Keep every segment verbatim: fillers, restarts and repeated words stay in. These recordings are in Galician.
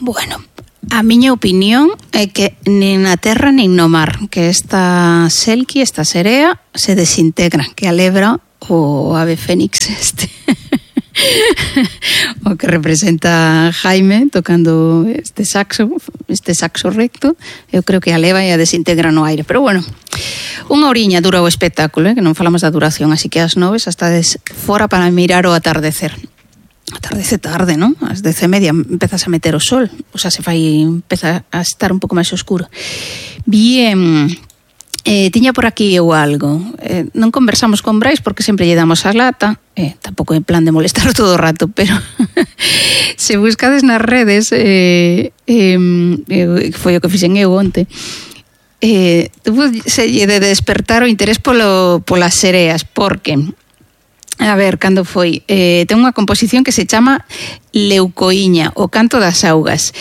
Bueno, a miña opinión é que nin na terra nin no mar, que esta selqui, esta serea, se desintegra, que a lebra o ave fénix este o que representa Jaime tocando este saxo este saxo recto, eu creo que a leva e a desintegra no aire, pero bueno, unha horiña dura o espectáculo, eh, que non falamos da duración, así que ás noves hasta des fora para mirar o atardecer. Atardece tarde, non? Ás dez e media empezas a meter o sol, o sea, se fai, empeza a estar un pouco máis oscuro. Bien, eh, tiña por aquí eu algo. Eh, non conversamos con Brais porque sempre lle damos a lata, eh, tampouco en plan de molestar todo o rato, pero se buscades nas redes, eh, eh, foi o que fixen eu onte, eh, se lle de despertar o interés polo, polas sereas, porque... A ver, cando foi? Eh, ten unha composición que se chama Leucoíña, o canto das augas.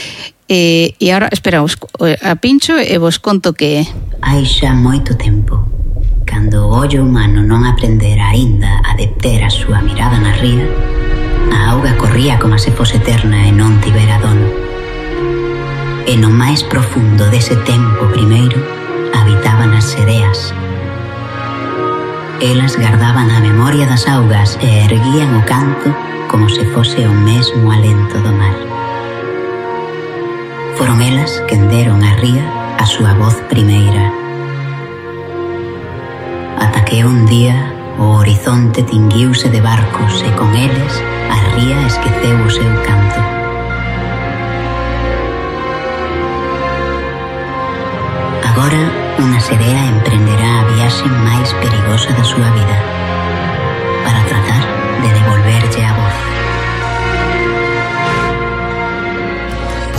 Eh, e agora, espera, os, a pincho e vos conto que é. Hai xa moito tempo, cando o ollo humano non aprendera aínda a deter a súa mirada na ría, a auga corría como se fose eterna e non tivera dono. E no máis profundo dese tempo primeiro habitaban as sereas. Elas gardaban a memoria das augas e erguían o canto como se fose o mesmo alento do mar. Foron elas quen deron á ría a súa voz primeira. Ata que un día o horizonte tinguiuse de barcos e con eles a ría esqueceu o seu canto. Agora, unha serea emprenderá a viaxe máis perigosa da súa vida para tratar de devolverlle a voz.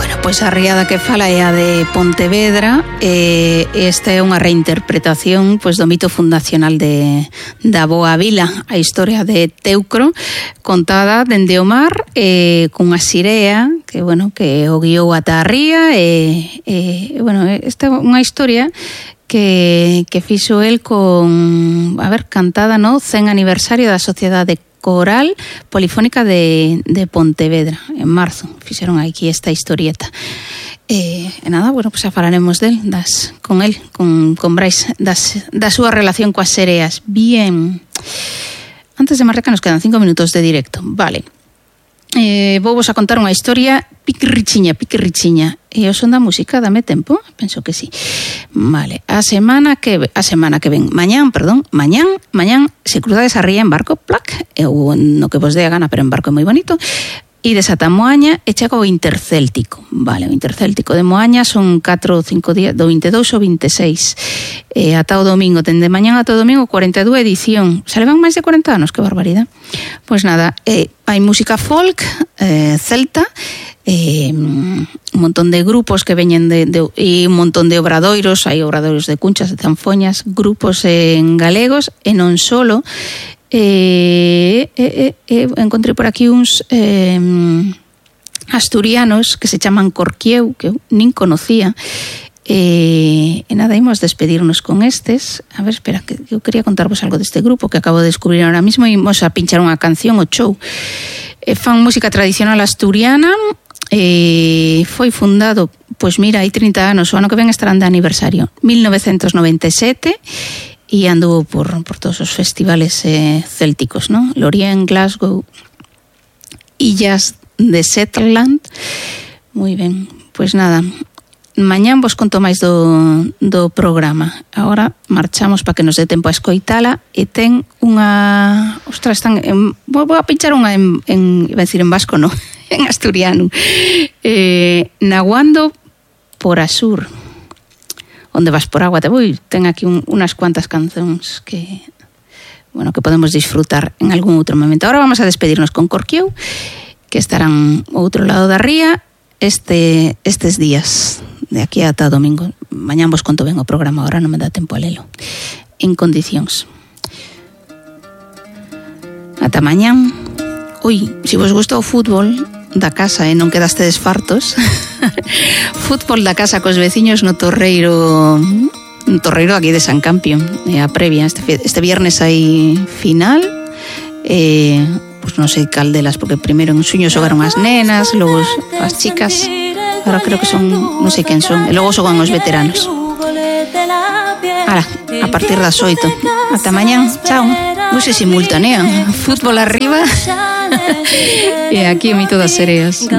Bueno, pois a riada que fala é a de Pontevedra, e esta é unha reinterpretación pois do mito fundacional de da Boa Vila, a historia de Teucro, contada dende o mar, e cunha sirea que, bueno, que o guiou ata a ría, e, e bueno, esta é unha historia que, que fixo el con, a ver, cantada no cen aniversario da Sociedade Coral Polifónica de, de Pontevedra, en marzo, fixeron aquí esta historieta. E, e nada, bueno, pues xa falaremos del, das, con el, con, con Brais, das, da súa relación coas sereas. Bien, antes de marcar nos quedan cinco minutos de directo, vale. Eh, vou vos a contar unha historia piquirrichiña, piquirrichiña. E o son da música, dame tempo? Penso que sí. Vale, a semana que a semana que ven, mañán, perdón, mañán, mañán, se cruzades a ría en barco, plac, eu no que vos dé a gana, pero en barco é moi bonito, e desata Moaña e chega o Intercéltico. Vale, o Intercéltico de Moaña son catro ou cinco días, do vinte e dous ao vinte e seis. E ata o domingo, ten de mañán ata o domingo cuarenta e dúas edición. Se levan máis de cuarenta anos, que barbaridade. Pois nada, eh, hai música folk, eh, celta, eh, un montón de grupos que veñen de, de, e un montón de obradoiros, hai obradoiros de cunchas, de zanfoñas, grupos en galegos, e non solo. Eh, eh, eh, encontrei por aquí uns eh, asturianos que se chaman Corquieu, que eu nin conocía, e, e nada, imos despedirnos con estes. A ver, espera, que eu quería contarvos algo deste grupo que acabo de descubrir ahora mismo, e imos a pinchar unha canción, o show. E fan música tradicional asturiana, e foi fundado, pois mira, hai trinta anos, o ano que ven estarán de aniversario, mil novecentos noventa e sete, e anduvo por, por todos os festivales eh, célticos, ¿no? Lorient, Glasgow, Illas de Shetland. Moi ben, pois nada, mañán vos conto máis do, do programa. Agora marchamos para que nos dé tempo a escoitala, e ten unha... Ostras, están en, vou a pinchar unha en, en iba a decir en vasco, no, en asturiano. Eh, Naguando por Asur. Onde vas por agua te voy, ten aquí un, unas cuantas cancións que, bueno, que podemos disfrutar en algún outro momento. Ahora vamos a despedirnos con Corquieu, que estarán ao outro lado da ría este, estes días, de aquí ata domingo. Mañán vos conto ben o programa, ahora non me dá tempo a lelo en condicións. Ata mañán. Ui, se vos gusta o fútbol da casa e non quedastedes fartos, fútbol da casa cos veciños no Torreiro, no Torreiro aquí de San Campio, e a previa, este, este viernes hai final, e pues non sei cal delas, porque primeiro en Suño xogaron as nenas, logo as chicas, Ahora creo que son, non sei quen son. E logo xogan os veteranos. Ala, a partir das oito. Ata mañán, chao. Non se simultanean. Fútbol arriba. E aquí o mito das sereas.